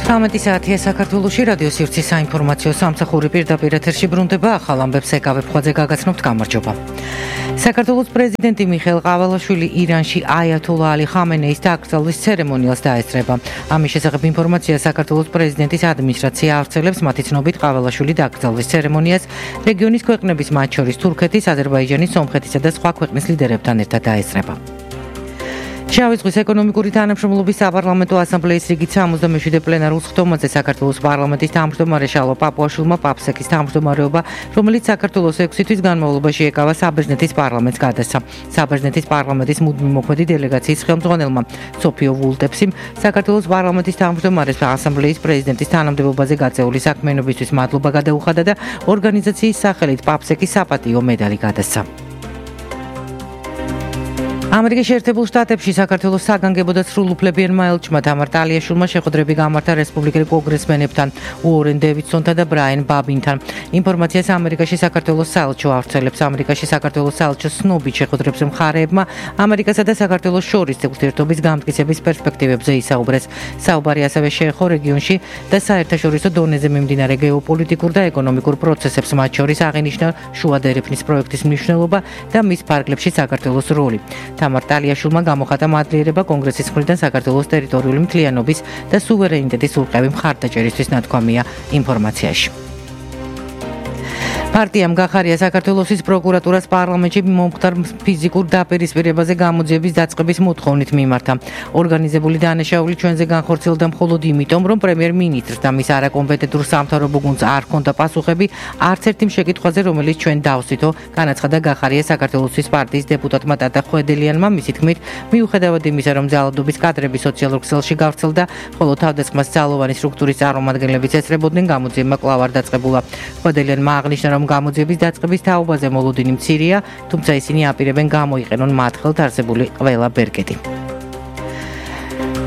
18 საათია საქართველოში რადიო სივრცის საინფორმაციო სამსახური პირდაპირ ეთერში ბრუნდება ახალ ამბებს ეკავებხვაძე გაგაცნობთ გამარჯობა. საქართველოს პრეზიდენტი მიხეილ ყავალაშვილი ირანში აიათოლა ალი ხამენეის დაკრძალვის ცერემონიალს დაესწრება. ამის შესახებ ინფორმაცია საქართველოს პრეზიდენტის ადმინისტრაცია ავრცელებს. მათი ცნობით ყავალაშვილი დაკრძალვის ცერემონიას რეგიონის ქვეყნების მათ შორის თურქეთის, აზერბაიჯანის, სომხეთისა და სხვა ქვეყნის ლიდერებთან ერთად დაესწრება. შავი ზღვის ეკონომიკური თანამშრომლობის საპარლამენტო ასამბლეის რიგით 77 პლენარულ სხდომაზე საქართველოს პარლამენტის თავმჯდომარე შალვა პაპუაშვილმა პაპსეკის თავმჯდომარეობა, რომელიც საქართველოს 6 თვის განმავლობაში ეკავა საბერძნეთის პარლამენტს გადასცა. საბერძნეთის პარლამენტის მუდმივ მოქმედი დელეგაციის ხელმძღვანელმა სოფიო ვულტეფსიმ საქართველოს პარლამენტის თავმჯდომარეს ასამბლეის პრეზიდენტის თანამდებობაზე გაწეული საქმიანობისთვის მადლობა გადაუხადა და ორგანიზაციის სახელით პაპსეკის საპატიო медали გადასცა. ამერიკის შეერთებულ შტატებში საქართველოს საგანგებო და სრულუფლებიან ელჩმა თამარ ტალიაშვილმა შეხვედრები გამართა რესპუბლიკელ კონგრესმენებთან, უორენ დევიდსონთან და ბრაიან ბაბინთან. ინფორმაციას ამერიკაში საქართველოს საელჩო ავრცელებს. ამერიკაში საქართველოს საელჩოს ცნობით შეხვედრებს მხარეებმა ამერიკასა და საქართველოს შორის ურთიერთობის გამტკიცების პერსპექტივებზე ისაუბრეს. საუბარი ასევე შეეხო რეგიონში და საერთაშორისო დონეზე მიმდინარე გეოპოლიტიკურ და ეკონომიკურ პროცესებს, მათ შორის აღინიშნა შუა დერეფნის პროექტის მნიშვნელობა და მის ფარგლებში საქართველოს როლი. თამარ ტალიაშვილმა გამოხატა მადლიერება კონგრესის მხრიდან საქართველოს ტერიტორიული მთლიანობის და სუვერენიტეტის ურყევი მხარდაჭერისთვის ნათქვამია ინფორმაციაში. პარტიამ გახარია საქართველოს პროკურატურას პარლამენტში მომხდარ ფიზიკურ დაპირისპირებაზე გამოძიების დაწყების მოთხოვნით მიმართა. ორგანიზებული დანაშაული ჩვენზე განხორციელდა მხოლოდ იმიტომ, რომ პრემიერ-მინისტრს და მის არაკომპეტენტურ სამთავრობო გუნდს არ ჰქონდა პასუხები არც ერთი შემეკითხვაზე, რომელიც ჩვენ დავსვითო, განაცხადა გახარია საქართველოს პარტიის დეპუტატმა ტატა ხვედელიანმა. მისი თქმით, მიუხედავად იმისა, რომ ძალადობის კადრები სოციალურ ქსელში გავრცელდა, ხოლო თავდასხმას ძალოვანი სტრუქტურის წარმომადგენლებიც ესწრებოდნენ, გამოძიება კვლავ არ დაწყებულა. ხვედელიანმა აღნიშნა, რომ გამოძიების დაწყების თაობაზე მოლოდინი მცირეა, თუმცა ისინი აპირებენ გამოიყენონ მათ ხელთ არსებული ყველა ბერკეტი.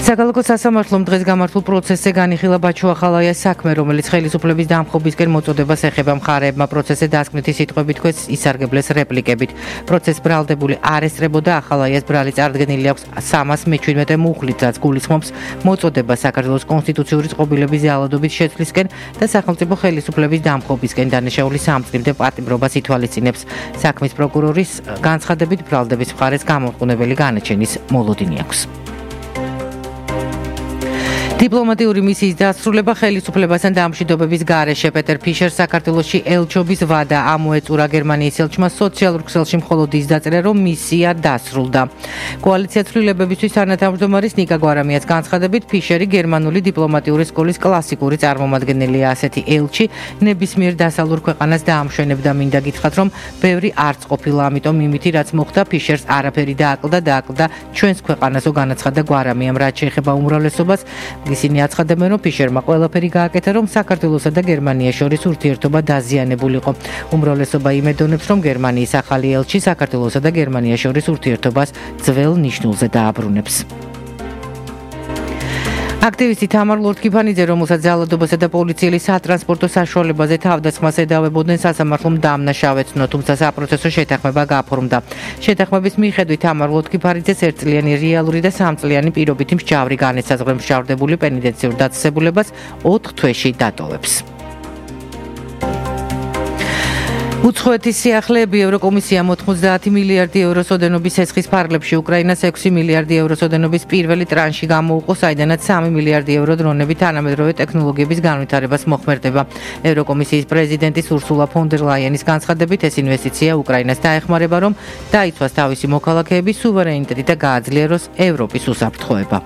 საკალათო სასამართლომ დღეს გამართულ პროცესზე განიხილა ბაჩო ახალაიას საქმე, რომელიც ხელისუფლების დამხობისკენ მოწოდებას ეხება. მხარეებმა პროცესზე დასკვნითი სიტყვებით თქვეს ისარგებლეს რეპლიკებით. პროცესს ბრალდებული არ ესწრებოდა, ახალაიას ბრალი წარდგენილი აქვს 317 მუხლით, რაც გულისხმობს მოწოდებას საქართველოს კონსტიტუციური წყობილების ძალადობის შეცვლისკენ და სახელმწიფო ხელისუფლების დამხობისკენ. დანაშაულის სამწკრივდე პატიმრობას ითვალისწინებს. საქმის პროკურორის განცხადებით, ბრალდების მხარეს გამორყუნებელი განაჩენის მოლოდინი აქვს. დიპლომატიური მისიის დასრულება ხელისუფლებასთან დამშვიდობების გარეშე. პეტერ ფიშერს საქართველოში ელჩობის ვადა ამოეწურა. გერმანიის ელჩმა სოციალურ ქსელში მხოლოდ ის დაწერა, რომ მისია დასრულდა. კოალიცია ცვლილებებისთვის თანათავმჯდომარის ნიკა გვარამიას განცხადებით, ფიშერი გერმანული დიპლომატიური სკოლის კლასიკური წარმომადგენელია. ასეთი ელჩი ნებისმიერ დასავლურ ქვეყანას დაამშვენებდა. მინდა გითხრათ, რომ ბევრი არც ყოფილა, ამიტომ იმითი რაც მოხდა, ფიშერს არაფერი დააკლდა ჩვენს ქვეყანასო, განაცხადა გვარამიამ. რაც შეეხება უმრავლესობას, ისინი აცხადებენ, რომ ფიშერმა ყველაფერი გააკეთა, რომ საქართველოსა და გერმანიას შორის ურთიერთობა დაზიანებულიყო. უმრავლესობა იმედონებს, რომ გერმანიის ახალი ელჩი საქართველოსა და გერმანიას შორის ურთიერთობას ძველ ნიშნულზე დააბრუნებს. აქტივისტი თამარ ლორთქიფანიძე, რომელსაც ძალადობასა და პოლიციელი სატრანსპორტო საშუალებაზე თავდასხმას ედავებოდნენ, სასამართლომ დამნაშავეცნო, თუმცა საპროცესო შეთანხმება გაფორმდა. შეთანხმების მიხედვით თამარ ლორთქიფანიძეს 1 წლიანი რეალური და 3 წლიანი პირობითი მსჯავრი განესაზღვრა. მსჯავრდებული პენიტენციურ დაწესებულებას 4 თვეში დატოვებს. უცხოეთის სიახლეები ევროკომისიამ 90 მილიარდი ევროს ოდენობის სესხის ფარგლებში უკრაინას 6 მილიარდი ევროს ოდენობის პირველი ტრანში გამოუყო, საიდანაც 3 მილიარდი евро დრონები თანამედროვე ტექნოლოგიების განვითარებას მოხმარდება. ევროკომისიის პრეზიდენტის ურსულა ფონ დერ ლაიენის განცხადებით, ეს ინვესტიცია უკრაინას დაეხმარება, რომ დაიცვას თავისი მოქალაქეების სუვერენიტეტი და გააძლიეროს ევროპის უსაფრთხოება.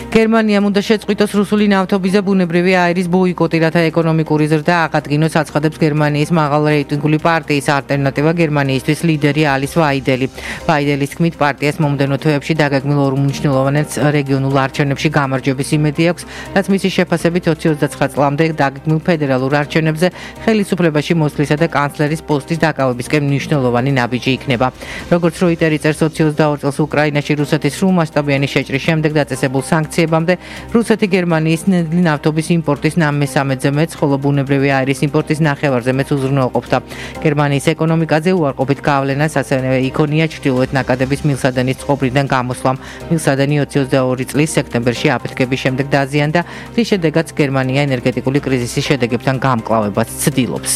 გერმანიამ უნდა შეწყვიტოს რუსული ნავთობის და ბუნებრივი აირის ბოიკოტი, რათა ეკონომიკური ზრდა აღადგინოს, აცხადებს გერმანიის მაღალრეიტინგული პარტიის ალტერნატივა გერმანიისთვის ლიდერი ალის ვაიდელი. ვაიდელის თქმით, პარტიას მომდევნო თვეებში დაგეგმილ უმნიშვნელოვან რეგიონულ არჩევნებში გამარჯვების იმედი აქვს, რაც მისი შეფასებით 2029 წლამდე დაგეგმილ ფედერალურ არჩევნებზე ხელისუფლებაში მოსვლისა და კანცლერის პოსტის დაკავებისკენ მნიშვნელოვანი ნაბიჯი იქნება. როგორც როიტერი წერს, 22 წელს უკრაინაში რუსეთის სრულმასშტაბიანი შეჭრის შემდეგ დაწესებულ სანქციებს გაქცევამდე რუსეთი გერმანიის ნედლი ნავთობის იმპორტის 13-ზე მეც, ხოლო ბუნებრივი აირის იმპორტის 9-ზე მეც უზრუნველყოფდა. გერმანიის ეკონომიკაზე უარყოფით გავლენას ასევე იქონია ჩრდილოეთ ნაკადების მილსადენის წყობრიდან გამოსვლამ. მილსადენი 2022 წლის სექტემბერში აფეთქების შემდეგ დაზიანდა, რის შედეგად გერმანია ენერგეტიკული კრიზისის შედეგებთან გამკლავებას ცდილობს.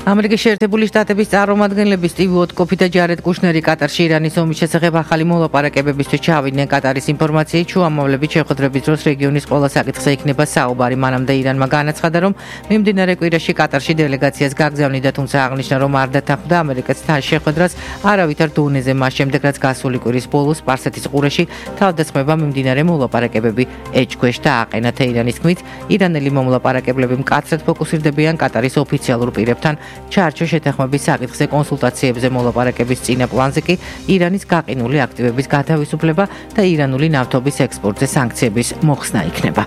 ამერიკის შეერთებული შტატების წარმომადგენლები სტივ უოტკოფი და ჯარედ კუშნერი კატარში ირანის ომის შესახებ ახალი მოლაპარაკებებისთვის ჩავიდნენ. კატარის ინფორმაციით შუამავლების შეხვედრების დროს რეგიონის ყველა საკითხზე იქნება საუბარი. მანამდე ირანმა განაცხადა, რომ მიმდინარე კვირაში კატარში დელეგაციას გაგზავნიდა, თუმცა აღნიშნა, რომ არ დათანხმდა ამერიკის შეხვედრას არავითარ დონეზე, მას შემდეგ რაც გასული კვირის ბოლოს სპარსეთის ყურეში თავდასხმება მიმდინარე მოლაპარაკებები ეჭქვეშ დააყენა. თეირანის თქმით, ირანელი მომლაპარაკებლები მკაცრად ფოკუსირდებიან კატარის ოფიციალურ პირებთან ჩარჩო შეთანხმების საკითხზე კონსულტაციებზე. მოლაპარაკების წინა პლანზე კი ირანის გაყინული აქტივების გათავისუფლება და ირანული ნავთობის ექსპორტზე სანქციების მოხსნა იქნება.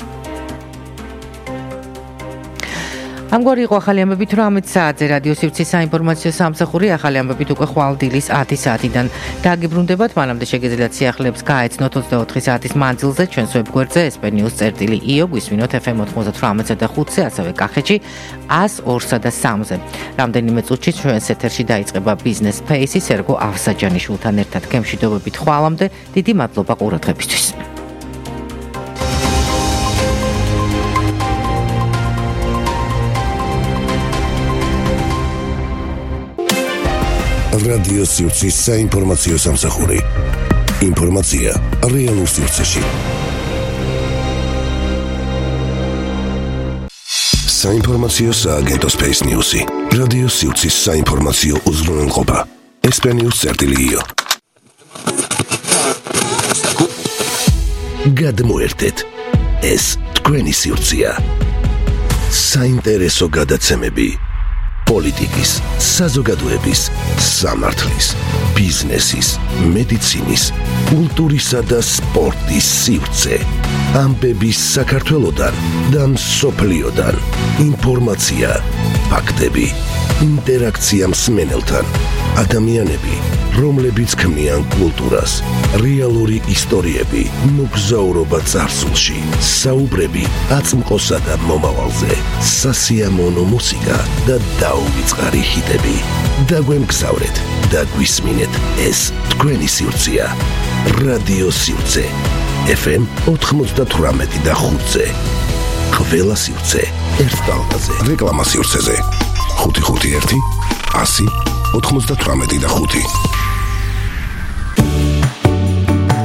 ამგვარი იყო ახალი ამბებით 18 საათზე რადიო სივრცის საინფორმაციო სამსახური. ახალი ამბებით უკვე ხვალ დილის 10 საათიდან დაგიბრუნდებათ. მანამდე შეგიძლიათ სიახლეებს გაეცნოთ 24 საათის მანძილზე ჩვენს ვებგვერდზე sp-news.io, გვისმინოთ FM 98 და 5-ზე, ასევე კახეთში 102-სა და 3-ზე. რამდენიმე წუთში ჩვენს ეთერში დაიწყება Business Space-ი სერგო ავსაჯანიშვილთან ერთად. გემშვიდობებით ხვალამდე, დიდი მადლობა ყურადღებისთვის. რადიო სივრცის საინფორმაციო სამსახური. ინფორმაცია რეალურ სივრცეში. საინფორმაციო სააგენტო Space News-ი. რადიო სივრცის საინფორმაციო უზრუნველყოფა. sp-news.io. გადმოერთეთ. ეს თქვენი სივრცეა. საინტერესო გადაცემები. პოლიტიკის, საზოგადოების, სამართლის, ბიზნესის, მედიცინის, კულტურისა და სპორტის სივრცე. ამბების საქართველოდან და მსოფლიოდან. ინფორმაცია, ფაქტები, ინტერაქცია მსმენელთან. ადამიანები, რომლებიც ქმნიან კულტურას, რეალური ისტორიები, მოგზაურობა წარსულში, საუბრები აწმყოსა და მომავალზე, სასიამოვნო მუსიკა და დაუვიწყარი ჰიტები. დაგვემგზავრეთ და გვისმინეთ, ეს თქვენი სივრცეა. რადიო სივრცე FM 98 და 5-ზე. ყველა სივრცე ერთ ტალღაზე. რეკლამა სივრცეზე 551 100 98 და 5.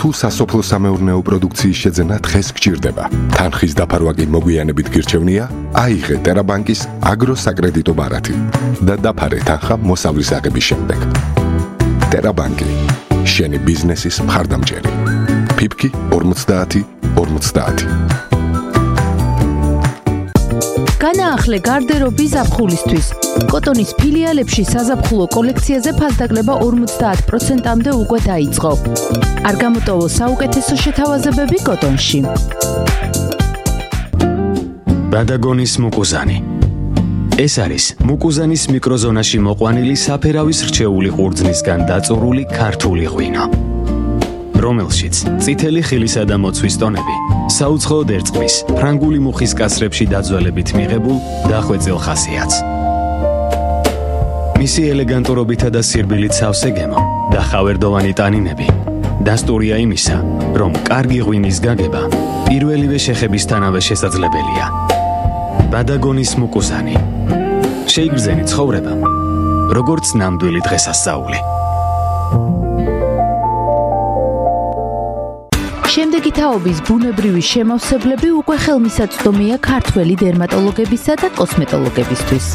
თუ სასოფლო-სამეურნეო პროდუქციის შეძენა დღეს გჭირდება, თანხის დაფარვა კი მოგვიანებით გირჩევნია, აიღე ტერაბანკის აგროსაკრედიტო ბარათი და დაფარე თანხა მოსავლის აღების შემდეგ. ტერაბანკი, შენი ბიზნესის მხარდამჭერი. ფიფკი 50-50. განაახლე გარდერობი ზაფხულისთვის. კოტონის ფილიალებში საზაფხულო კოლექციაზე ფასდაკლება 50%-მდე უკვე დაიწყო. არ გამოტოვო საუკეთესო შეთავაზებები კოტონში. ბადაგონის მუკუზანი. ეს არის მუკუზანის მიკროზონაში მოყვანილი საფერავის რჩეული ყურძნისგან დაწურული ქართული ღვინო, რომელშიც წითელი ხილისა და მოცვის ტონები საუცხოოდ ერწყმის ფრანგული მუხის კასრებში დაძველებით მიღებულ დახვეწილ ხასიათს. მისი ელეგანტურობითა და სირბილით სავსე გემო და ხავერდოვანი ტანინები დასტურია იმისა, რომ კარგი ღვინის გაგება პირველივე შეხებისთანავე შესაძლებელია. ბადაგონის მუკუზანი. შეიგრძენი ცხოვრება, როგორც ნამდვილი დღესასწაული. შემდეგი თაობის ბუნებრივი შემავსებლები უკვე ხელმისაწვდომია ქართველი დერმატოლოგებისა და კოსმეტოლოგებისთვის.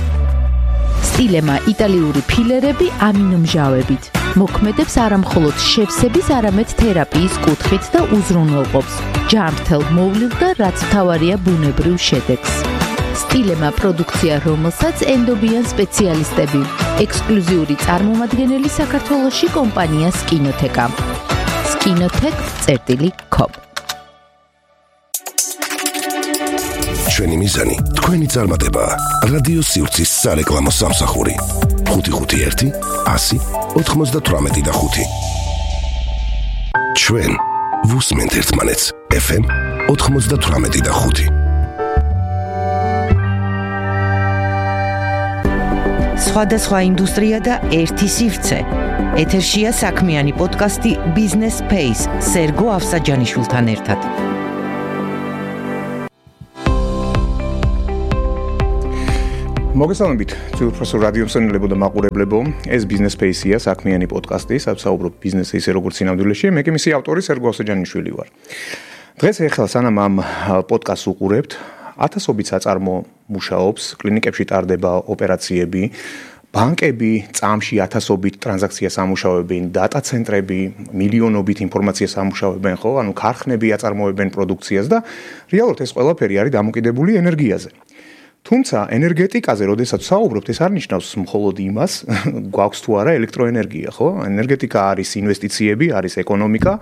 სტილემა იტალიური ფილერები ამინომჟავებით. მოქმედებს არამხოლოდ შევსების, არამედ თერაპიის კუთხით და უზრუნველყოფს ჯანმრთელ მოვლილ და რაც მთავარია ბუნებრივ შედეგს. სტილემა პროდუქცია, რომელსაც ენდობიან სპეციალისტები. ექსკლუზიური წარმომადგენელი საქართველოში კომპანია სკინოთეკა. skinotech.com. ჩვენი მიზანი თქვენი წარმატება. რადიო სივრცის სარეკლამო სამსახური 551 100 98 და 5. ჩვენ ვუსმენთ ერთმანეთს. FM 98.5. სხვადასხვა ინდუსტრია და ერთი სივრცე. ეთერშია საქმიანი პოდკასტი Business Space სერგო ავსაჯანიშვილთან ერთად. მოგესალმებით, ძვირფასო რადიო მსმენელებო და მაყურებლებო. ეს Business Space-ია, საქმიანი პოდკასტი, სადაც საუბრობ ბიზნესზე ისე როგორც სინამდვილეში. მე კი მისი ავტორი სერგო ავსაჯანიშვილი ვარ. დღეს ახლა სანამ ამ პოდკასტს უყურებთ, ათასობით საწარმო მუშაობს, კლინიკებში ტარდება ოპერაციები, ბანკები წამში ათასობით ტრანზაქციას ამუშავებენ, დატა ცენტრები მილიონობით ინფორმაციას ამუშავებენ, ხო? ანუ ქარხნები აწარმოებენ პროდუქციას და რეალურად ეს ყველაფერი არის დამოკიდებული ენერგიაზე. თუმცა ენერგეტიკაზე, როდესაც საუბრობთ, ეს არ ნიშნავს მხოლოდ იმას, გვაქვს თუ არა ელექტროენერგია, ხო? ენერგეტიკა არის ინვესტიციები, არის ეკონომიკა,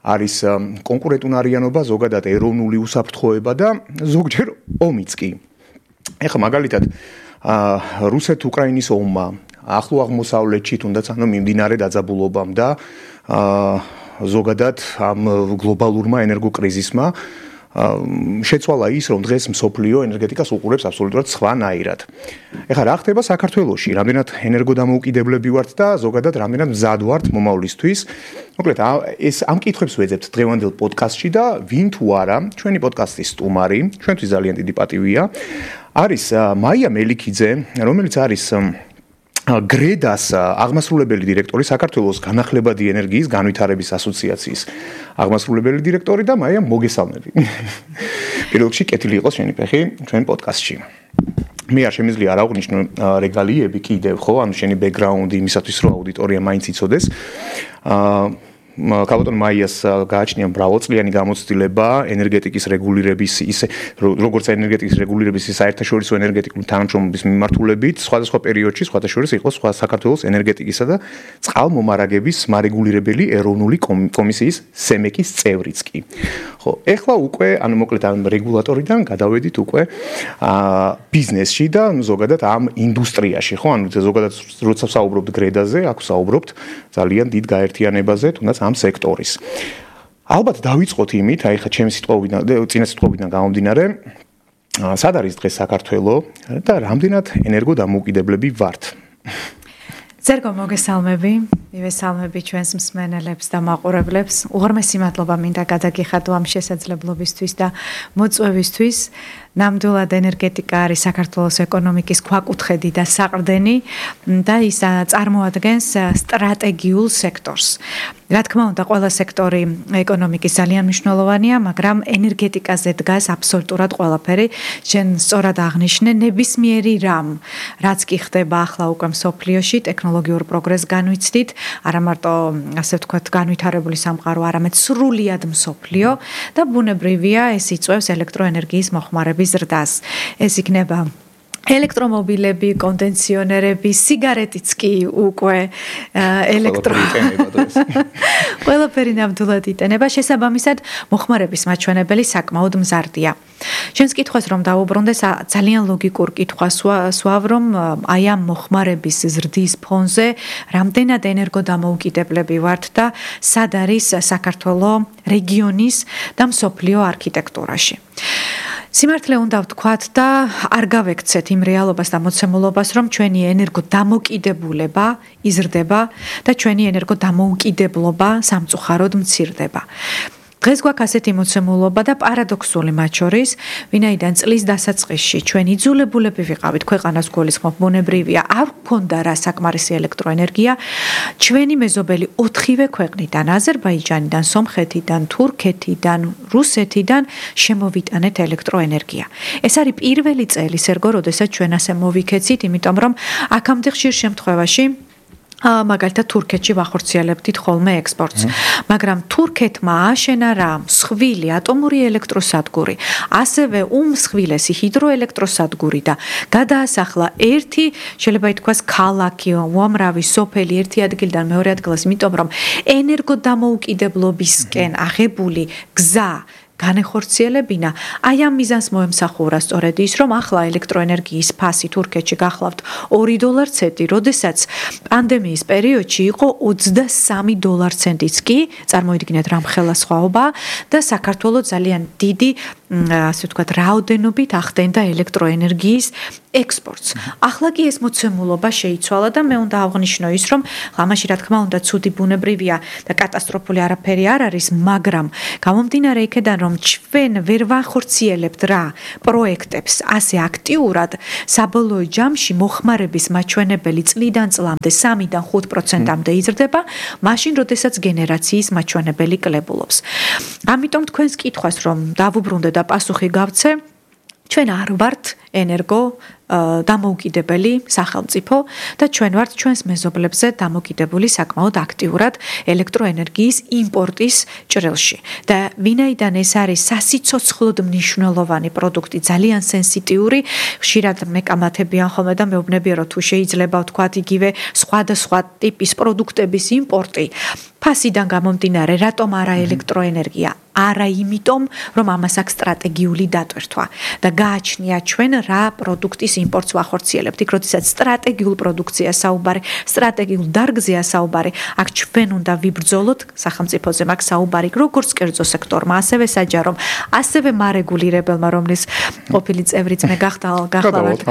არის კონკურენტუნარიანობა, ზოგადად ეროვნული უსაფრთხოება და ზოგჯერ ომიც კი. ეხლა მაგალითად რუსეთ-უკრაინის ომმა, ახლო აღმოსავლეთში თუნდაც ანუ მიმდინარე დაძაბულობამ და ზოგადად ამ გლობალურმა ენერგოკრიზისმა შეცვალა ის, რომ დღეს მსოფლიო ენერგეტიკას უყურებს აბსოლუტურად სხვანაირად. ეხლა რა ხდება საქართველოში? რამდენად ენერგოდამოუკიდებლები ვართ და ზოგადად რამდენად მზად ვართ მომავლისთვის? მოკლედ, ეს ამ კითხვებს ვეძებთ დღევანდელ პოდკასტში და ვინ თუ არა, ჩვენი პოდკასტის სტუმარი, ჩვენთვის ძალიან დიდი პატივია, არის მაია მელიქიძე, რომელიც არის გრედას აღმასრულებელი დირექტორი, საქართველოს განახლებადი ენერგიის განვითარების ასოციაციის აღმასრულებელი დირექტორი და მაია მოგესალმები. პირველ რიგში კეთილი იყოს შენი ფეხი ჩვენ პოდკასტში. მე არ შემიძლია არ აღვნიშნო რეგალიები კიდევ, ხო, ანუ შენი ბექგრაუნდი იმისათვის, რომ აუდიტორია მაინც იცოდეს. კალბატონ მაიას გააჩნია მრავალწლიანი გამოცდილება ენერგეტიკის რეგულირების ისე როგორც ენერგეტიკის რეგულირების საერთაშორისო ენერგეტიკული თანამშრომლობის მიმართულებით სხვადასხვა პერიოდში სხვადასხვა იყო სხვა საქართველოს ენერგეტიკისა და წყალმომარაგების მარეგულირებელი ეროვნული კომისიის სემეკის წევრიც კი. ხო, ეხლა უკვე ანუ მოკლედ ამ რეგულატორიდან გადავედით უკვე ბიზნესში და ზოგადად ამ ინდუსტრიაში, ხო, ანუ ზოგადად როცა საუბრობთ გრედაზე, აქ საუბრობთ ძალიან დიდ გაერთიანებაზე, თუნდაც ამ სექტორის. ალბათ დავიწყოთ იმით, აი ხა ჩემი სიტყვებიდან, წინა სიტყვებიდან გამომდინარე, სად არის დღეს საქართველო და რამდენად ენერგოდამოუკიდებლები ვართ? სერგო, მოგესალმები. მივესალმები ჩვენს მსმენელებს და მაყურებლებს. უღრმესი მადლობა მინდა გადაგიხადო ამ შესაძლებლობისთვის და მოწვევისთვის. ნამდვილად ენერგეტიკა არის საქართველოს ეკონომიკის ქვაკუთხედი და საყრდენი და ის წარმოადგენს სტრატეგიულ სექტორს. რა თქმა უნდა, ყველა სექტორი ეკონომიკის ძალიან მნიშვნელოვანია, მაგრამ ენერგეტიკაზე დგას აბსოლუტურად ყველაფერი. შენ სწორად აღნიშნე, ნებისმიერი რამ, რაც კი ხდება ახლა უკვე მსოფლიოში, ტექნოლოგიურ პროგრესს განვიცდით, არა მარტო ასე ვთქვათ, განვითარებული სამყარო, არამედ სრულიად მსოფლიო და ბუნებრივია ეს იწვევს ელექტროენერგიის მოხმარების ზრდას. ეს იქნება ელექტრომობილები, კონდენსიონერები, სიგარეტიც კი უკვე ყველაფერი ნამდვილად იტენება. შესაბამისად, მოხმარების მაჩვენებელი საკმაოდ მზარდია. შენს კითხვას რომ დაუბრუნდეს, ძალიან ლოგიკურ კითხვას სვავ, რომ აი ამ მოხმარების ზრდის ფონზე რამდენად ენერგოდამოუკიდებლები ვართ და სად არის საქართველოს რეგიონის და მსოფლიო არქიტექტურაში. სიმართლე უნდა ვთქვათ და არ გავექცეთ იმ რეალობას და მოცემულობას, რომ ჩვენი ენერგოდამოკიდებულება იზრდება და ჩვენი ენერგოდამოუკიდებლობა სამწუხაროდ მცირდება. დღეს გვაქვს ასეთი მოცემულობა და პარადოქსული მათ შორის, ვინაიდან წლის დასაწყისში ჩვენ იძულებულები ვიყავით ქვეყანას გულისხმობ, ბუნებრივია, არ გვქონდა რა საკმარისი ელექტროენერგია, ჩვენი მეზობელი 4-ვე ქვეყნიდან, აზერბაიჯანიდან, სომხეთიდან, თურქეთიდან, რუსეთიდან შემოვიტანეთ ელექტროენერგია. ეს არის პირველი წელი, სერგო, როდესაც ჩვენ ასე მოვიქეცით, იმიტომ რომ აქამდე ხშირ შემთხვევაში მაგალითად თურქეთში ვახორციელებდით ხოლმე ექსპორტს, მაგრამ თურქეთმა აშენა რა მსხვილი ატომური ელექტროსადგური, ასევე უმსხვილესი ჰიდროელექტროსადგური და გადაასახლა ერთი, შეიძლება ითქვას, ქალაქი, უამრავი სოფელი ერთი ადგილიდან მეორე ადგილას, იმიტომ რომ ენერგოდამოუკიდებლობისკენ აღებული გზა განეხორციელებინა. აი ამ მიზანს მოემსახურა სწორედ ის, რომ ახლა ელექტროენერგიის ფასი თურქეთში გახლავთ $2 ცენტი, როდესაც პანდემიის პერიოდში იყო $23 ცენტიც კი, წარმოიდგინეთ რა მხელა სხვაობა და საქართველოს ძალიან დიდი ასე ვთქვათ, რაოდენობით ახდენდა ელექტროენერგიის ექსპორტს. ახლა კი ეს მოცემულობა შეიცვალა და მე უნდა აღვნიშნო ის, რომ ამაში რა თქმა უნდა ცუდი ბუნებრივია და კატასტროფული არაფერი არ არის, მაგრამ გამომდინარე იქედან, რომ ჩვენ ვერ ვახორციელებთ რა პროექტებს ასე აქტიურად, საბოლოო ჯამში მოხმარების მაჩვენებელი წლიდან წლამდე 3-დან 5%-მდე იზრდება, მაშინ როდესაც გენერაციის მაჩვენებელი კლებულობს. ამიტომ თქვენს კითხვას რომ დავუბრუნდე და პასუხი გავცე, ჩვენ არ ვართ ენერგო დამოუკიდებელი სახელმწიფო და ჩვენ ვართ ჩვენს მეზობლებზე დამოკიდებული საკმაოდ აქტიურად ელექტროენერგიის იმპორტის ჭრილში. და ვინაიდან ეს არის სასიცოცხლოდ მნიშვნელოვანი პროდუქტი, ძალიან სენსიტიური, ხშირად მეკამათებიან ხოლმე და მეუბნებიან, რომ თუ შეიძლება ვთქვათ იგივე სხვადასხვა ტიპის პროდუქტების იმპორტი, ფასიდან გამომდინარე, რატომ არა ელექტროენერგია? არა იმიტომ, რომ ამას აქვს სტრატეგიული დატვირთვა და გააჩნია ჩვენ რა პროდუქტის იმპორტს ვახორციელებთ. იქ როდესაც სტრატეგიულ პროდუქციას საუბარი, სტრატეგიულ დარგზეა საუბარი, აქ ჩვენ უნდა ვიბრძოლოთ სახელმწიფოზე მაგ საუბარი, როგორც კერძო სექტორმა, ასევე საჯარომ, ასევე მარეგულირებელმა, რომლის ყოფილი წევრიც მე გახლავართ.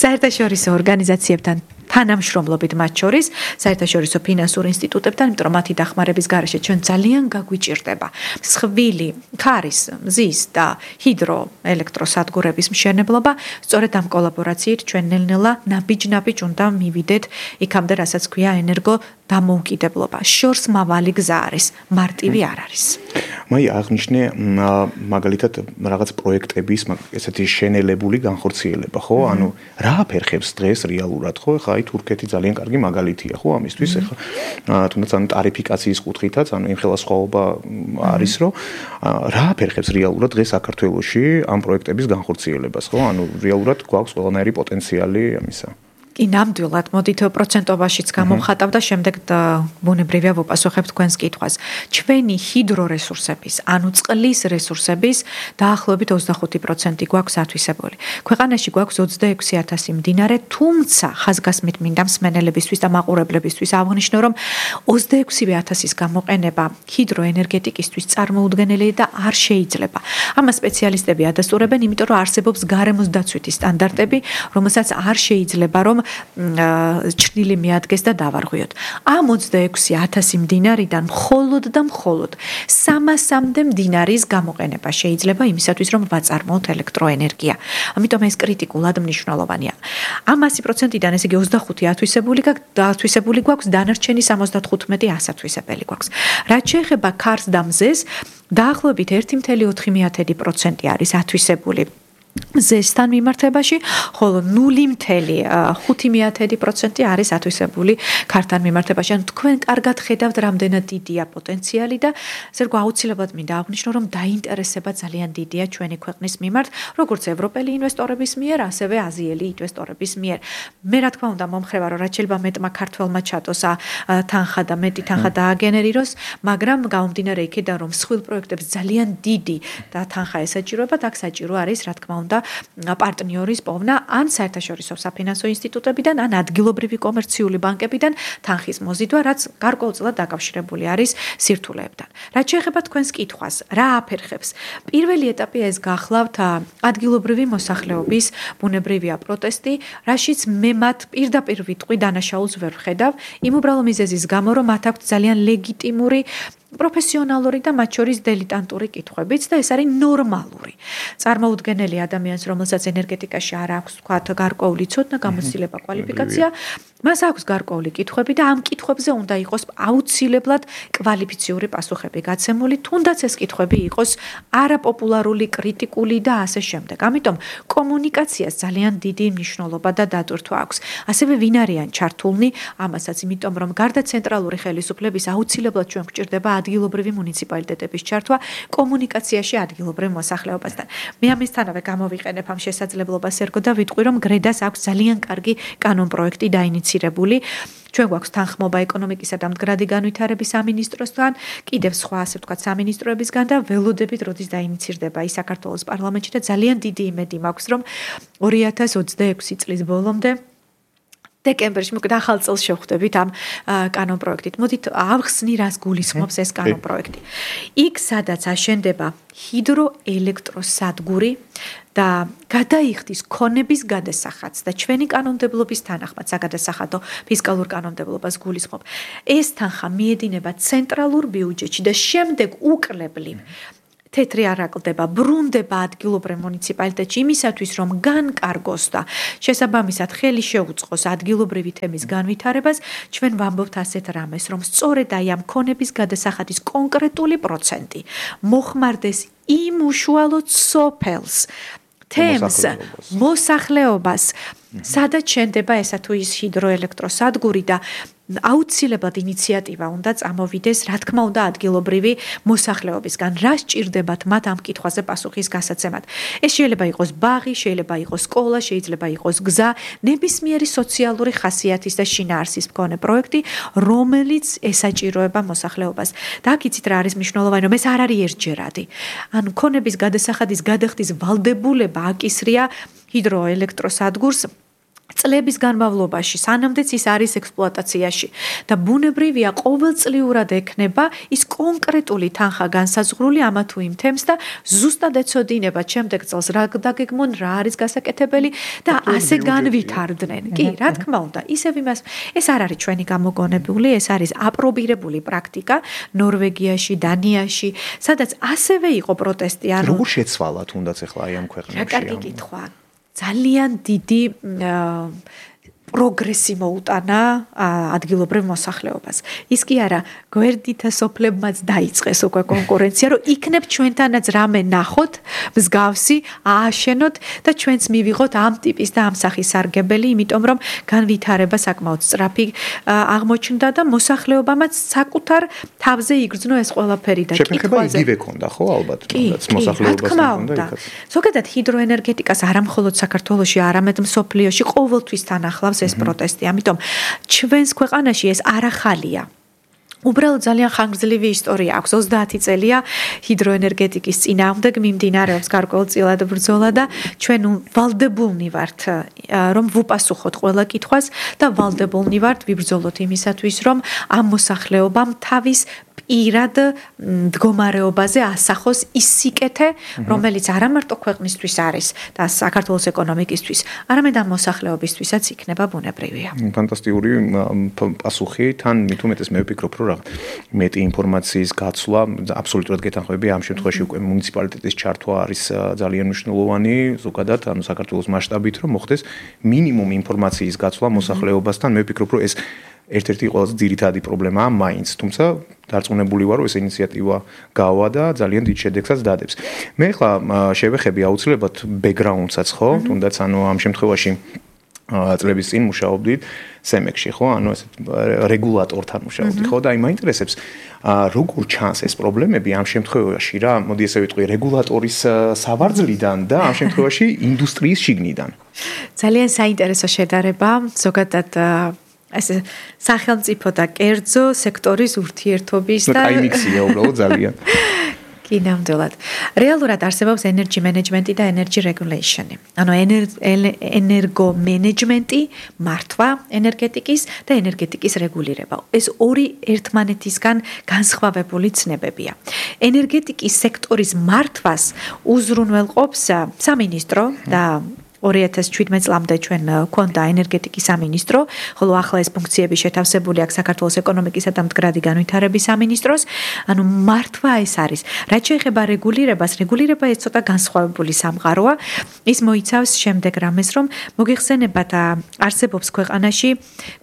საერთაშორისო ორგანიზაციებთან თანამშრომლობით მათ შორის საერთაშორისო ფინანსურ ინსტიტუტებთან, იმიტომ რომ მათი დახმარების გარეშე ჩვენ ძალიან გაგვიჭირდება მსხვილი, ქარის, მზის და ჰიდროელექტროსადგურების მშენებლობა. სწორედ ამ კოლაბორაციით ჩვენ ნელ-ნელა ნაბიჯ-ნაბიჯ უნდა მივიდეთ იქამდე, რასაც ქვია ენერგო დამოუკიდებლობა. შორს მავალი გზა არის, მარტივი არ არის. მაი აღნიშნე მაგალითად რაღაც პროექტების ესეთი შენელებული განხორციელება, ხო? ანუ რა აფერხებს დღეს რეალურად, ხო? ხა აი თურქეთი ძალიან კარგი მაგალითია, ხო? ამისთვის ეხლა თუნდაც ანუ ტარიფიკაციის კუთხითაც, ანუ იმხელა სხვაობა არის, რომ რა აფერხებს რეალურად დღეს საქართველოში ამ პროექტების განხორციელებას, ხო? ანუ რეალურად გვაქვს ყველანაირი პოტენციალი ამისა. კი, ნამდვილად, მოდით პროცენტობაშიც გამოვხატავ და შემდეგ ბუნებრივია ვუპასუხებ თქვენს კითხვას. ჩვენი ჰიდრორესურსების, ანუ წყლის რესურსების დაახლოებით 25% გვაქვს ათვისებული. ქვეყანაში გვაქვს 26,000 მდინარე, თუმცა ხაზგასმით მინდა მსმენელებისთვის და მაყურებლებისთვის აღვნიშნო, რომ 26,000-ის გამოყენება ჰიდროენერგეტიკისთვის წარმოუდგენელი და არ შეიძლება. ამას სპეციალისტები ადასტურებენ, იმიტომ რომ არსებობს გარემოს დაცვითი სტანდარტები, რომელსაც არ შეიძლება რომ ჩრდილი მიადგეს და დავარღვიოთ. ამ 26,000 მდინარიდან მხოლოდ 300-მდე მდინარის გამოყენება შეიძლება იმისათვის, რომ ვაწარმოოთ ელექტროენერგია. ამიტომ ეს კრიტიკულად მნიშვნელოვანია. ამ 100%-დან, ესე იგი 25 ათვისებული გვაქვს, დანარჩენი 75 ასათვისებელი გვაქვს. რაც შეეხება ქარს და მზეს, დაახლოებით 1,4% არის ათვისებული ზესთან მიმართებაში, ხოლო 0,5% არის ათვისებული ქართან მიმართებაში. ანუ თქვენ კარგად ხედავთ, რამდენად დიდია პოტენციალი და ესე რომ აუცილებლად მინდა აღვნიშნო, რომ დაინტერესება ძალიან დიდია ჩვენი ქვეყნის მიმართ, როგორც ევროპელი ინვესტორების მიერ, ასევე აზიელი ინვესტორების მიერ. მე რა თქმა უნდა მომხრება, რომ რაც შეიძლება მეტმა ქართველმა ჩატოს თანხა და მეტი თანხა დააგენერიროს, მაგრამ გამომდინარე იქიდან, რომ მსხვილ პროექტებს ძალიან დიდი და თანხა ესაჭიროებათ, აქ საჭირო არის, რა თქმა უნდა, პარტნიორის პოვნა ან საერთაშორისო საფინანსო ინსტიტუტებიდან, ან ადგილობრივი კომერციული ბანკებიდან თანხის მოზიდვა, რაც გარკვეულწილად დაკავშირებული არის სირთულეებთან. რაც შეეხება თქვენს კითხვას, რა აფერხებს? პირველი ეტაპი ეს გახლავთ ადგილობრივი მოსახლეობის ბუნებრივია პროტესტი, რაშიც მე მათ პირდაპირ ვიტყვი დანაშაულს ვერ ვხედავ, იმ უბრალო მიზეზის გამო, რომ მათ აქვთ ძალიან ლეგიტიმური პროფესიონალური და მათ შორის დილიტანტური კითხვებიც და ეს არის ნორმალური. წარმოუდგენელი ადამიანს, რომელსაც ენერგეტიკაში არ აქვს თქვათ გარკვეული ცოდნა, გამოცდილება, კვალიფიკაცია, მას აქვს გარკვეული კითხვები და ამ კითხვებზე უნდა იყოს აუცილებლად კვალიფიციური პასუხები გაცემული, თუნდაც ეს კითხვები იყოს არაპოპულარული, კრიტიკული და ასე შემდეგ. ამიტომ კომუნიკაციას ძალიან დიდი მნიშვნელობა და დატვირთვა აქვს. ასევე ვინ არიან ჩართულნი ამასაც, იმიტომ რომ გარდა ცენტრალური ხელისუფლების აუცილებლად ჩვენ გვჭირდება ადგილობრივი მუნიციპალიტეტების ჩართვა კომუნიკაციაში ადგილობრივ მოსახლეობასთან. მე ამისთანავე გამოვიყენებ ამ შესაძლებლობას ერგო და ვიტყვი, რომ გრედას აქვს ძალიან კარგი კანონპროექტი დაინიცირებული. ჩვენ გვაქვს თანხმობა ეკონომიკისა და მდგრადი განვითარების სამინისტროსთან, კიდევ სხვა ასე ვთქვათ სამინისტროებისგან და ველოდებით როდის დაინიცირდება ის საქართველოს პარლამენტში და ძალიან დიდი იმედი მაქვს, რომ 2026 წლის ბოლომდე დეკემბერში მოკლედ ახალ წელს შევხვდებით ამ კანონპროექტით. მოდით ავხსნი, რას გულისხმობს ეს კანონპროექტი. იქ სადაც აშენდება ჰიდროელექტროსადგური და გადაიხდის ქონების გადასახადს და ჩვენი კანონმდებლობის თანახმად საგადასახადო ფისკალურ კანონმდებლობას გულისხმობ. ეს თანხა მიედინება ცენტრალურ ბიუჯეტში და შემდეგ უკლებლივ თეთრი არ აკლდება, ბრუნდება ადგილობრივ მუნიციპალიტეტში იმისათვის, რომ განკარგოს და შესაბამისად ხელი შეუწყოს ადგილობრივი თემის განვითარებას, ჩვენ ვამბობთ ასეთ რამეს, რომ სწორედ აი ამ ქონების გადასახადის კონკრეტული პროცენტი მოხმარდეს იმ უშუალოდ სოფელს, თემს, მოსახლეობას, სადაც შენდება ესა თუ ის ჰიდროელექტროსადგური და აუცილებლად ინიციატივა უნდა წამოვიდეს, რა თქმა უნდა, ადგილობრივი მოსახლეობისგან. რა სჭირდებათ მათ ამ კითხვაზე პასუხის გასაცემად? ეს შეიძლება იყოს ბაღი, შეიძლება იყოს სკოლა, შეიძლება იყოს გზა, ნებისმიერი სოციალური ხასიათის და შინაარსის მქონე პროექტი, რომელიც ესაჭიროება მოსახლეობას. და აქ იცით რა არის მნიშვნელოვანი, რომ ეს არ არის ერთჯერადი. ანუ ქონების გადასახადის გადახდის ვალდებულება აკისრია ჰიდროელექტროსადგურს წლების განმავლობაში, სანამდეც ის არის ექსპლუატაციაში და ბუნებრივია ყოველწლიურად ექნება ის კონკრეტული თანხა განსაზღვრული ამა თუ იმ თემს და ზუსტად ეცოდინება შემდეგ წელს რა დაგეგმონ, რა არის გასაკეთებელი და ასე განვითარდნენ. კი, რა თქმა უნდა, ისევ იმას, ეს არ არის ჩვენი გამოგონებული, ეს არის აპრობირებული პრაქტიკა ნორვეგიაში, დანიაში, სადაც ასევე იყო პროტესტი. როგორ შეცვალა თუნდაც ახლა აი ამ ქვეყნებში? რა კარგი კითხვა. ძალიან დიდი პროგრესი მოუტანა ადგილობრივ მოსახლეობას. ის კი არა, გვერდითა სოფლებმაც დაიწყეს უკვე კონკურენცია, რომ იქნებ ჩვენთანაც რამე ნახოთ, მსგავსი, ააშენოთ და ჩვენც მივიღოთ ამ ტიპის და ამ სახის სარგებელი, იმიტომ რომ განვითარება საკმაოდ სწრაფი აღმოჩნდა და მოსახლეობამაც საკუთარ თავზე იგრძნო ეს ყველაფერი და კითხვაზე. შეფერხება იგივე ქონდა, ხო, ალბათ, თუნდაც მოსახლეობასთან უნდა იქაც. ზოგადად ჰიდროენერგეტიკას არა მხოლოდ საქართველოში, არამედ მსოფლიოში ყოველთვის თან ახლავს ეს პროტესტი. ამიტომ ჩვენს ქვეყანაში ეს არ ახალია. უბრალოდ ძალიან ხანგრძლივი ისტორია აქვს. 30 წელია ჰიდროენერგეტიკის წინააღმდეგ მიმდინარეობს გარკვეულწილად ბრძოლა და ჩვენ ვალდებულნი ვართ რომ ვუპასუხოთ ყველა კითხვას და ვალდებულნი ვართ ვიბრძოლოთ იმისათვის, რომ ამ მოსახლეობამ თავის პირად მდგომარეობაზე ასახოს ის სიკეთე, რომელიც არა მარტო ქვეყნისთვის არის და საქართველოს ეკონომიკისთვის, არამედ ამ მოსახლეობისთვისაც იქნება ბუნებრივია. ფანტასტიკური პასუხი, თან მით უმეტეს მე ვფიქრობ, რომ მეტი ინფორმაციის გაცვლა აბსოლუტურად გეთანხმები. ამ შემთხვევაში უკვე მუნიციპალიტეტის ჩართვა არის ძალიან მნიშვნელოვანი, ზოგადად, ანუ საქართველოს მასშტაბით, რომ მოხდეს მინიმუმ ინფორმაციის გაცვლა მოსახლეობასთან. მე ვფიქრობ, რომ ეს ერთ-ერთი ყველაზე ძირითადი პრობლემაა მაინც, თუმცა დარწმუნებული ვარ, რომ ეს ინიციატივა გავა და ძალიან დიდ შედეგსაც დადებს. მე ახლა შევეხები აუცილებლად ბექგრაუნდსაც, ხო? თუნდაც ანუ ამ შემთხვევაში წლების წინ მუშაობდით სემექში, ხო? ანუ ესეთ რეგულატორთან მუშაობდით, ხო? და აი მაინტერესებს როგორ ჩანს ეს პრობლემები ამ შემთხვევაში რა, მოდი ესე ვიტყვი, რეგულატორის სავარძლიდან და ამ შემთხვევაში ინდუსტრიის შიგნიდან. ძალიან საინტერესო შედარება, ზოგადად ეს სახელმწიფო და კერძო სექტორის ურთიერთობის და აი მიქსია უბრალოდ ძალიან. კი, ნამდვილად. რეალურად არსებობს energy management და energy regulation. ანუ ენერგო მენეჯმენტი, მართვა ენერგეტიკის და ენერგეტიკის რეგულირება. ეს ორი ერთმანეთისგან განსხვავებული ცნებებია. ენერგეტიკის სექტორის მართვას უზრუნველყოფს სამინისტრო და 2017 წლამდე ჩვენ გვქონდა ენერგეტიკის სამინისტრო, ხოლო ახლა ეს ფუნქციები შეთავსებული აქვს საქართველოს ეკონომიკისა და მდგრადი განვითარების სამინისტროს. ანუ მართვა ეს არის. რაც შეეხება რეგულირებას, რეგულირება ეს ცოტა განსხვავებული სამყაროა. ის მოიცავს შემდეგ რამეს, რომ მოგეხსენებათ, არსებობს ქვეყანაში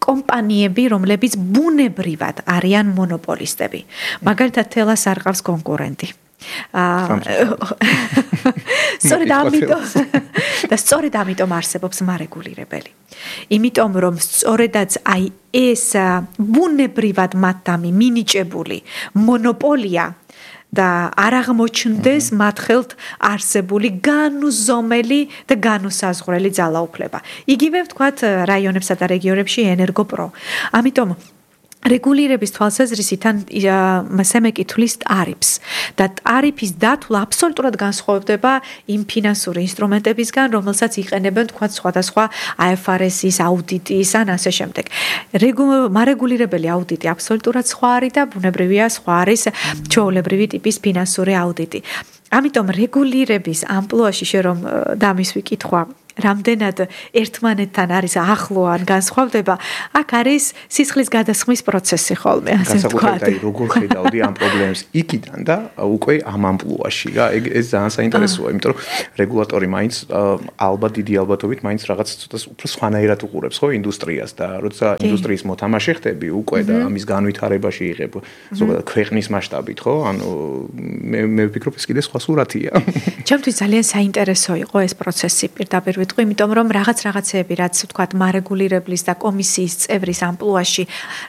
კომპანიები, რომლებიც ბუნებრივად არიან მონოპოლისტები. მაგალითად, თელას არ ყავს კონკურენტი. სწორედ ამიტომ და სწორედ ამიტომ არსებობს მარეგულირებელი. იმიტომ რომ სწორედაც აი ეს ბუნებრივად მათთამი მინიჭებული მონოპოლია და არ აღმოჩნდეს მათ ხელთ არსებული განუზომელი და განუსაზღვრელი ძალაუფლება. იგივე ვთქვათ რაიონებსა და რეგიონებში ენერგოპრო. ამიტომ რეგულირების თვალსაზრისით სემეკი თulis ტარიფს და ტარიფის დათვლა აბსოლუტურად განსხვავდება იმ ფინანსური ინსტრუმენტებისგან, რომელსაც იყენებენ თქვა სხვადასხვა IFRS-ის აუდიტის ან ასე შემდეგ. მარეგულირებელი აუდიტი აბსოლუტურად სხვა არის და ბუნებრივია სხვა არის ჩვეულებრივი ტიპის ფინანსური აუდიტი. ამიტომ რეგულირების ამპლუაში რომ დამისვი კითხვა რამდენად ერთმანეთთან არის ახლო ან განსხვავდება, აქ არის სისხლის გადასხმის პროცესი ხოლმე, ასე ვთქვათ. განსაკუთრებით როგორ ხედავდი ამ პრობლემებს იქიდან და უკვე ამ ამპლუაში რა, ეს ძალიან საინტერესოა, იმიტომ რომ რეგულატორი მაინც ალბათ დიდი ალბათობით მაინც რაღაც ცოტა უფრო სხვანაირად უყურებს ხო ინდუსტრიას და როცა ინდუსტრიის მოთამაშე ხდები უკვე და ამის განვითარებაში იღებ ზოგადად ქვეყნის მასშტაბით ხო? ანუ მე ვფიქრობ ეს კიდე სხვა სურათია. ჩემთვის ძალიან საინტერესო იყო ეს პროცესი პირდაპირ იმიტომ რომ რაღაცეები რაც ვთქვათ მარეგულირებლის და კომისიის წევრის ამპლუაში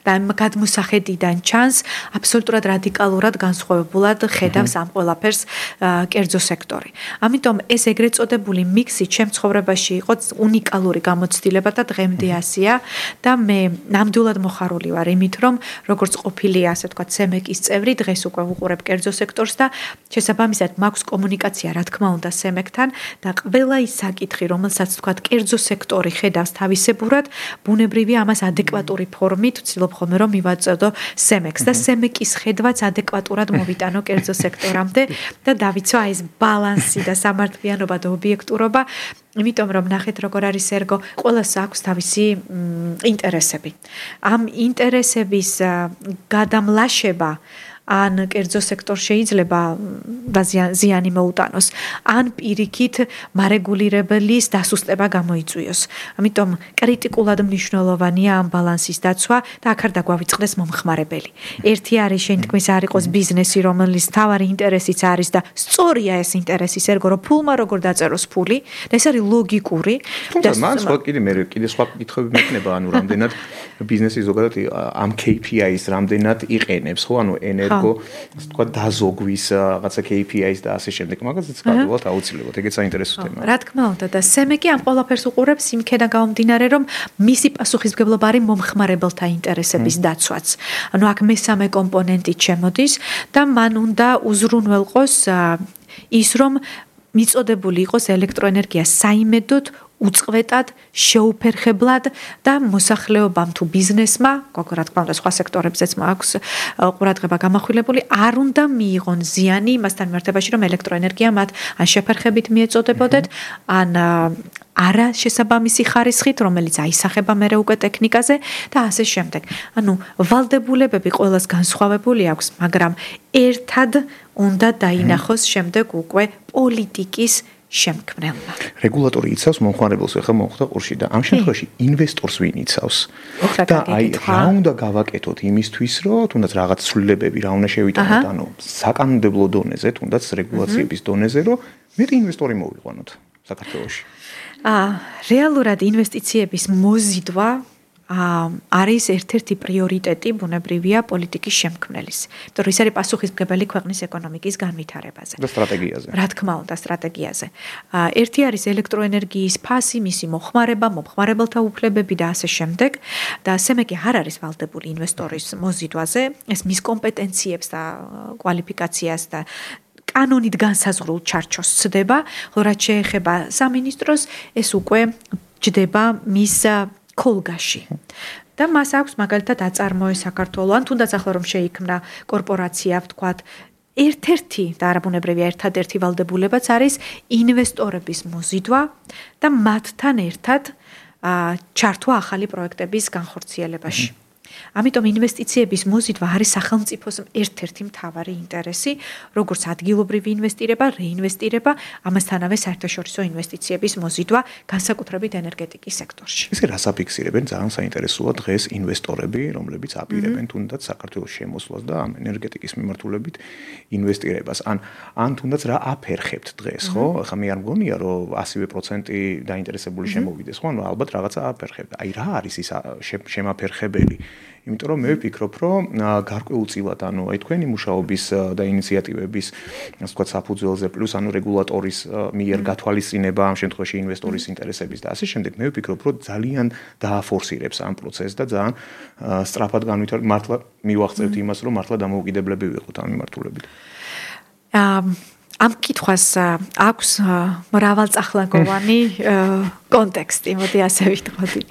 და გადმოსახედიდან ჩანს აბსოლუტურად რადიკალურად განსხვავებულად ხედავს ამ ყველაფერს კერძო სექტორი. ამიტომ ეს ეგრეთ წოდებული მიქსი ჩემ ცხოვრებაში იყო უნიკალური გამოცდილება და დღემდე ასეა და მე ნამდვილად მოხარული ვარ იმით რომ როგორც ყოფილი ასე ვთქვათ სემეკის წევრი დღეს უკვე ვუყურებ კერძო სექტორს და შესაბამისად მაქვს კომუნიკაცია რა თქმა უნდა სემეკთან და ყველა ის საკითხი რომელსაც თქვათ კერძო სექტორი ხედავს თავისებურად, ბუნებრივია ამას ადეკვატური ფორმით ვცდილობ ხოლმე რომ მივაწოდო სემეკს და სემეკის ხედვაც ადეკვატურად მოვიტანო კერძო სექტორამდე და დავიცვა ეს ბალანსი და სამართლიანობა და ობიექტურობა, იმიტომ რომ ნახეთ როგორ არის ერგო, ყველას აქვს თავისი ინტერესები. ამ ინტერესების გადამლაშება ან კერძო სექტორ შეიძლება ზიანი მოუტანოს, ან პირიქით მარეგულირებლის დასუსტება გამოიწვიოს. ამიტომ კრიტიკულად მნიშვნელოვანია ამ ბალანსის დაცვა და აქ არ დაგვავიწყდეს მომხმარებელი. ერთი არის შენ თქმის არ იყოს ბიზნესი, რომელიც თავარი ინტერესიც არის და სწორია ეს ინტერესის ერგო, რომ ფულმა როგორ დაწეროს ფული და ეს არის ლოგიკური. და მან სხვა კიდე სხვა კითხვები მექნება, ანუ რამდენად ბიზნესი ზოგადად ამ KPI-ს რამდენად იყენებს, ხო, ანუ ენერგო ასე თქვა დაზოგვის რაღაცა KPI-ს და ასე შემდეგ, მაგაზეც გადავალთ აუცილებლად, ეგეც საინტერესო თემაა. რა თქმა უნდა და სემეკი ამ ყველაფერს უყურებს იმქედან გამომდინარე, რომ მისი პასუხისმგებლობა არის მომხმარებელთა ინტერესების დაცვაც. ანუ აქ მესამე კომპონენტი შემოდის და მან უნდა უზრუნველყოს ის, რომ მიწოდებული იყოს ელექტროენერგია საიმედოდ უწყვეტად, შეუფერხებლად და მოსახლეობამ თუ ბიზნესმა, რა თქმა უნდა, სხვა სექტორებზეც მაქვს ყურადღება გამახვილებული, არ უნდა მიიღონ ზიანი იმასთან მიმართებაში, რომ ელექტროენერგია მათ ან შეფერხებით მიეწოდებოდეთ, ან არა შესაბამისი ხარისხით, რომელიც აისახება მერე უკვე ტექნიკაზე და ასე შემდეგ. ანუ ვალდებულებები ყველას განსხვავებული აქვს, მაგრამ ერთად უნდა დაინახოს შემდეგ უკვე პოლიტიკის შემქმნელმა. რეგულატორი იცავს მომხმარებელს, ახლა მომხდა ყურში და ამ შემთხვევაში ინვესტორს ვინ იცავს? და აი რა უნდა გავაკეთოთ იმისთვის, რომ თუნდაც რაღაც ცვლილებები რა უნდა შევიტანოთ, ანუ საკანონმდებლო დონეზე, თუნდაც რეგულაციების დონეზე, რომ მეტი ინვესტორი მოვიყვანოთ საქართველოში. რეალურად ინვესტიციების მოზიდვა არის ერთ-ერთი პრიორიტეტი ბუნებრივია პოლიტიკის შემქმნელის. იმიტომ რომ ის არის პასუხისმგებელი ქვეყნის ეკონომიკის განვითარებაზე. და სტრატეგიაზე. რა თქმა უნდა, სტრატეგიაზე. ერთი არის ელექტროენერგიის ფასი, მისი მოხმარება, მომხმარებელთა უფლებები და ასე შემდეგ. და სემეკი არ არის ვალდებული ინვესტორის მოზიდვაზე, ეს მის კომპეტენციებს და კვალიფიკაციას და კანონით განსაზღვრულ ჩარჩოს ცდება, რაც შეეხება სამინისტროს, ეს უკვე ჯდება მის კოლგაში. და მას აქვს მაგალითად აწარმოე საქართველოს, ან თუნდაც ახლა რომ შეიქმნა კორპორაცია, ვთქვათ, ერთ-ერთი და არაბუნებრივია ერთადერთი ვალდებულებაც არის ინვესტორების მოზიდვა და მათთან ერთად ჩართვა ახალი პროექტების განხორციელებაში. ამიტომ ინვესტიციების მოზიდვა არის სახელმწიფოს ერთ-ერთი მთავარი ინტერესი, როგორც ადგილობრივი ინვესტირება, რეინვესტირება, ამასთანავე საერთაშორისო ინვესტიციების მოზიდვა, განსაკუთრებით ენერგეტიკის სექტორში. ესე რას აფიქსირებენ? ძალიან საინტერესოა დღეს ინვესტორები, რომლებიც აპირებენ თუნდაც საქართველოს შემოსვლას და ამ ენერგეტიკის მიმართულებით ინვესტირებას. ან თუნდაც რა აფერხებთ დღეს, ხო? ახლა მე არ მგონია, რომ 100% დაინტერესებული შემოვიდეს, ხო? ალბათ რაღაცა აფერხებთ. აი რა არის ის შემაფერხებელი? იმიტომ რომ მე ვფიქრობ, რომ გარკვეულწილად, აი თქვენი მუშაობის და ინიციატივების, ასე ვთქვათ, საფუძველზე პლუს რეგულატორის მიერ გათვალისწინება ამ შემთხვევაში ინვესტორის ინტერესების და ასე შემდეგ, მე ვფიქრობ, რომ ძალიან დააფორსირებს ამ პროცესს და ძალიან სწრაფად მართლა მივახცევთ იმას, რომ მართლა დამოუკიდებლები ვიყოთ ამ მიმართულებით. ამ კითხვას აქვს მრავალწახნაგოვანი კონტექსტი, მოდი ასე ვიტყოდი.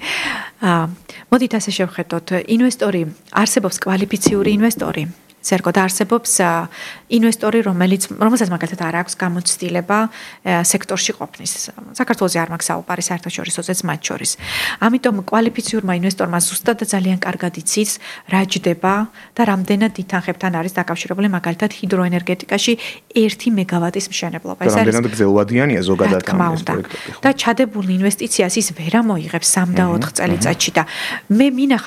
მოდით ასე შევხედოთ, ინვესტორი არსებობს კვალიფიციური ინვესტორი. ზერგო და არსებობს ინვესტორი, რომელსაც მაგალითად არ აქვს გამოცდილება სექტორში ყოფნის. საქართველოში არ მაქვს საუბარი საერთაშორისოზეც მათ შორის. ამიტომ კვალიფიციურმა ინვესტორმა ზუსტად ძალიან კარგად იცის, რა ჯდება და რამდენად ითანხებთან არის დაკავშირებული მაგალითად ჰიდროენერგეტიკაში 1 მეგავატის მშენებლობა. ეს არის რამდენად გრძელვადიანია ზოგადად ამ პროექტები. და ჩადებული ინვესტიციას ის ვერ ამოიღებს 3 და 4 წელიწადში და მე მინახავს